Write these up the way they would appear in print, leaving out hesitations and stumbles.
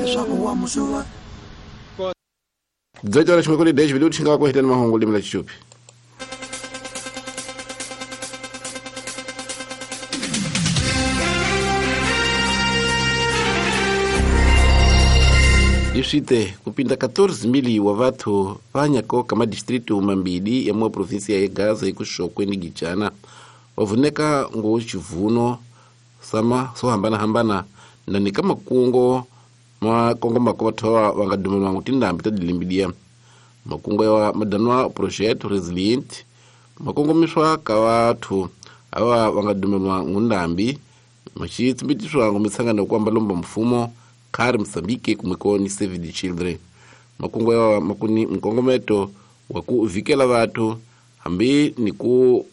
Leswaku wa musuva. 18 horas 10 minutos nga ku heteni mahungu limi la Chichupi. Iswite kupinda 14 mili wa vathu vanyako kama distritu mambili ya mwa provinsia ya Gaza ikuxokwe ni Gijana wavuneka ngo chivuno sama so hambana hambana na ni kama kungo makongo makovathowa vanga dumelwa ngu tindhambi ta dilimbidia makungo ya madanwa project resilient makongomiswa ka vathu ava vanga dumelwa ngu ndhambi maxitsimbitiwa ngu mitsangano ku amba lomba mfumo khari Mozambique kumweko ni Save the Children makungo ya makuni mkongometo wa ku vikela vathu hambi ni ku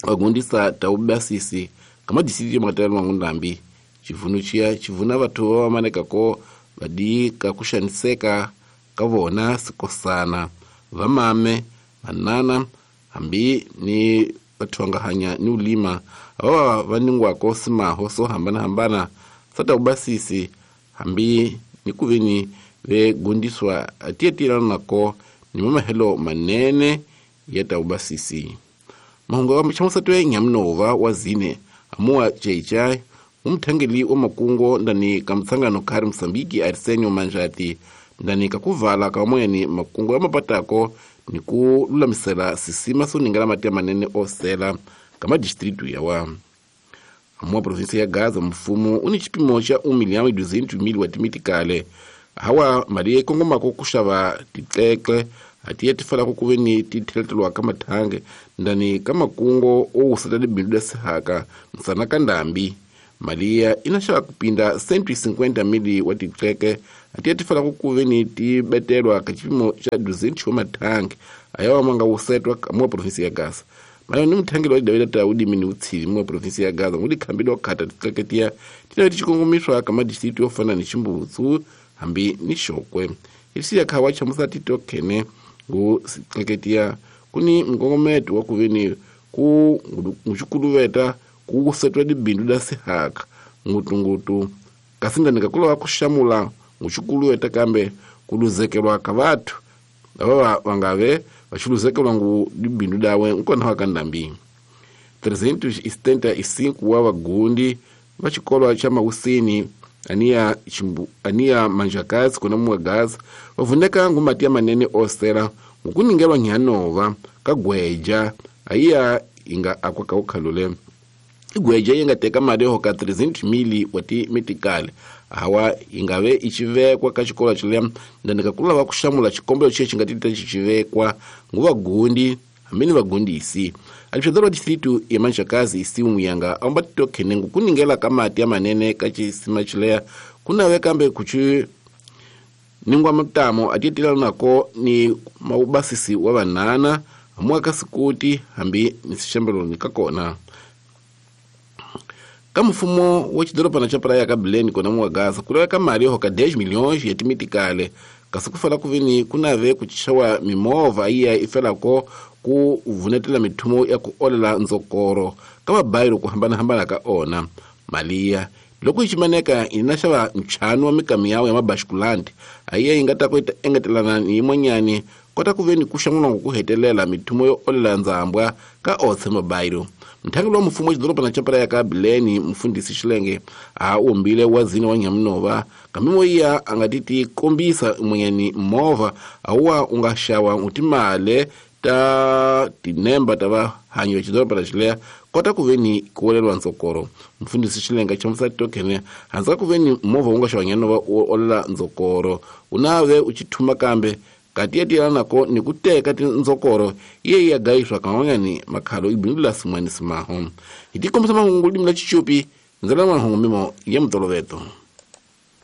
vagundisa taubasisi kama disiti makatela ngu ndhambi chivuno chiya chivuna vathu va maneka ko vadi ka kuxaniseka ka vona sikosana vamame vanana hambi ni vathu vanga hanya ni ulima ava va ningwako simaho so hambana hambana sata ubasisi hambi ni kuveni ve gundiswa atiyetilana nako ni mamahelo manene ya taubasisi mahungu wa chamusatwe nyamnova wa zine amuwa cheichai umthangeli wa makungo ndani ka mtsangano khari Mozambique Arsenio Manjati ndani kakuvala ka moyeni makungo ya mapatako ni ku lulamisela sisima so ningala mati manene osela kama distritu yawa amuwa provinsia ya Gaza mfumo uni chipimo cha 1,200,000 wa timitikale hawa mali ikongomako kuxava titlekle atiye tifalako kuveni titheletelwa ka mathange ndani ka makungo owuseta libindu lya sihaka msana ka ndhambi maliya inaxava kupinda 150 mili wa titleke atiye tifalako kuveni tibetelwa ka chipimo cha 200 wa mathange ayawa manga wusetwa muwa provinsia ya Gaza mali ni muthangeli wa dawida ta udimi ni utshivi muwa provinsia ya Gaza ngudi khambile wa khata titleke tiya tinave tixikongomiswa ka madistritu yo fana ni Ximbutsu hambi ni Xokwe isiya khawa chamusa titokhene ngu sitleketiya kuni mkongometo wa kuveni ku nguxikuluveta ku wusetwa libindu la sihaka ngutungutu kasi ndani kakulowa kuxamula nguxikuluveta kambe kuluzekelwa ka vathu lava vangave vaxiluzekelwa ngu libindu dawe nkona wa ka ndhambi 375 wa vagundi va xikolo xa Mawusini aniya Manjakazi kuna muwa Gaza vavuneka ngu mati ya manene osela ngukuningelwa nyanova ka gweja ayiya inga akwa ka ukhalule igweja yi nga teka mali yo hoka 300 mili wa timitikale hawa ingave ichivekwa ka xikolo xileya ndani kakula va kuxamula xikombelo xexi nga tita xicivekwa ngu vagundi hambi ni vagundisi alipshadoro wa distritu ya Manjakazi isimu yanga amba titokhene ngu kuningela ka mati ya manene ka xisima xileya kunave kambe kuchi ningwa mutamo atiyetela nako ni maubasisi wa vanana amuwa ka sikuti hambi ni sixembelo ni ka kona ka mfumo wa xidorobana xa Praia ka Belém kona muwa Gaza ku laveka mali yo hoka 10 milhões ya timitikale kasi ku fala ku veni ku nave ku xawa mimovha iya i felako ku vunetela mithumo ya ku olela ndzokoro ka mabayiro ku hambanahambana ka ona maliya loko yi ximaneka yi na xava ntlhanu wa mikamiyawu ya mabashikulandi ayiya yi nga ta ku engetelana ni yin'wanyani kota ku veni ku xamula ku hetelela mithumo yo olela ndzambwa ka otse mabayiro mthangeli wa mfumo wa xidorobana xa Praia ka Belém mfundhisi Xilenge a umbile wa zine wa Nyamunova kambe iya a nga ti kombisa mwenyani movha awuwa u nga xawa u timale ta tinemba ta vahanyi va xidorobana xileya kota ku veni ku weleriwa ndzokoro mfundhisi Xilenga chamusa titokhene handza ku veni movha wu nga xawa Nyanova u olela ndzokoro u nave u chithuma kambe kati nako ni ku teka tindzokoro iye ya gayiswa kan'wanyani makhalo ibindula simwani simaho hi tikombisa mahungu limi la Chichupi ndzela mahungu mimo ya mutoloveto.